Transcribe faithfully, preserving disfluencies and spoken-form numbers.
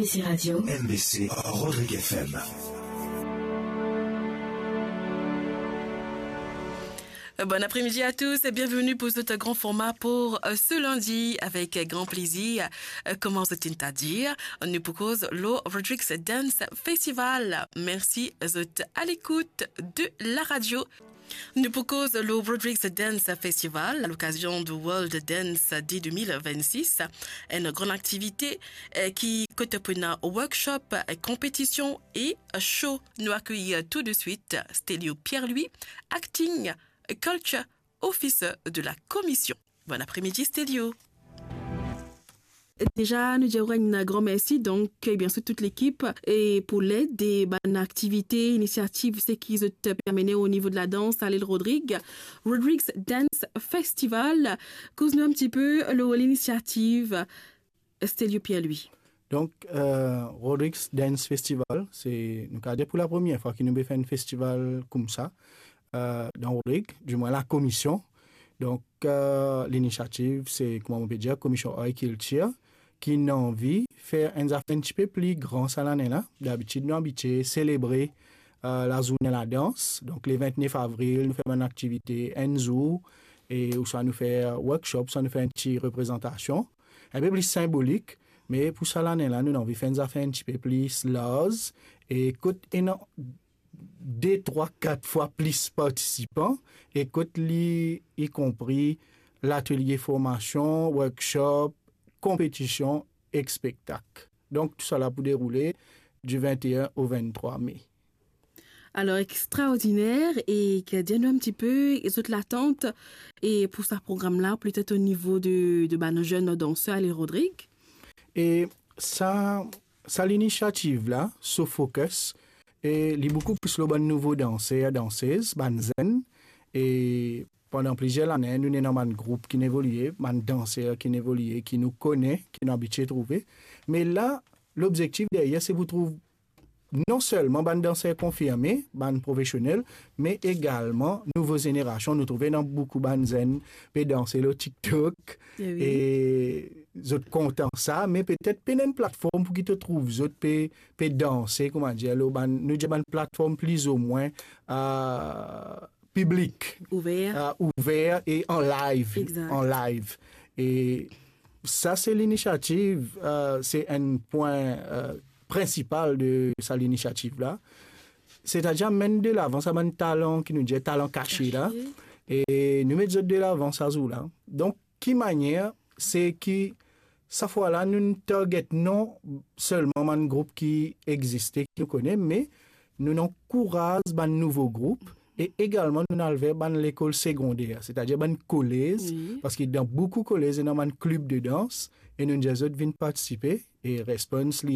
C Radio. M B C, Rodrigue F M. Bon après-midi à tous et bienvenue pour ce grand format pour, euh, ce lundi. Avec grand plaisir, euh, kouma zot inn dir, nou pou koz lor Rodrigues Dance Festival. Mersi zot à l'écoute de la radio. Nou pou koz lor Rodrigues Dance Festival, à l'occasion du World Dance Day deux mille vingt-six, enn gran aktivite, eh, ki kot pou ena workshop, eh, konpetision e show. Nou akeyir tou de suit Stelio Pierre-Louis, Acting Culture Officer de la Commission. Bon après-midi, Stelio. Deza, nou dir enn gran mersi, donk, eh bien, sur tout lekip, e pou led e bann aktivite, inisiativ, seki zot pe amenn o nivo de la dans, a Lil Rodrig. Rodrigues Dance Festival, koz nou enn tipe lor linisiativ, Stelio Pierre-Louis. Donk, eh, Rodrigues Dance Festival, se, nou kapav dir pou lapremier fwa ki nou pe fer enn festival koumsa, eh, dan Rodrig, dimwin lakomision. Donk, eh, linisiativ, se, kouma mo pe dir, Komision Art e Kiltir, ki inn anvi fer enn zafer enn tipe pli gran sa lane la. Dabitid, nou abitie selebre, eh, lazourne ladans. Donk, le vintnef avril, nou fer bann aktivite enn zour, e ouswa nou fer workshop, swa nou fer enn ti reprezantasion. Enn pe pli sinbolik, me pou sa lane la, nou anvi fer enn zafer enn tipe pli larz, e kot ena de, trwa, kat fwa plis partisipan, e kot li, i konpri latelie formasion, workshop, konpetision ek spektak. Donk, tousala pou deroule di vinteenn o vinttrwa me. Alor, extraordiner, e ki dir nou enn tipe, e zot latant, e pou sa program la, petet o nivo de, de bann zenn danser a Lil Rodrig? E sa, sa linisiativ la, so focus, e li boukou plis lor bann nouvo danser, dansez, bann zenn, e pandan plizier lane, nou ena bann group ki'nn evolie, bann danser ki'nn evolie, ki nou kone, ki nou abitie trouve. Me la, lobzektif deryer, se pou trouv non selman bann danser konfirme, bann profesionel, me egalman nouvo zenerasion. Nou trouve ena boukou bann zenn pe danse lor TikTok, e wi, e zot kontan sa, me petet pena enn platform pou ki to trouv zot pe, pe danse, kouma dir, lor bann, nou dir bann platform plizimwin, eh, piblik, ouver, eh, ouver e an live, egzakt, an live. E sa se linisiativ, eh, se enn pwin, eh, prinsipal de sa linisiativ la. Setadir amenn de lavan sa bann talan ki nou dir talan kase la. Kase. E nou met zot de lavan sa zour la. Donk, ki manier, se ki sa fwa la, nou target non selman bann group ki existe, ki nou kone, me nou ankouraz bann nouvo group, e egalman nou al ver bann lekol segonder, setadir bann kolez, wi, parski dan boukou kolez, ena bann klib de dans, e nou dir zot vinn partisipe, e response li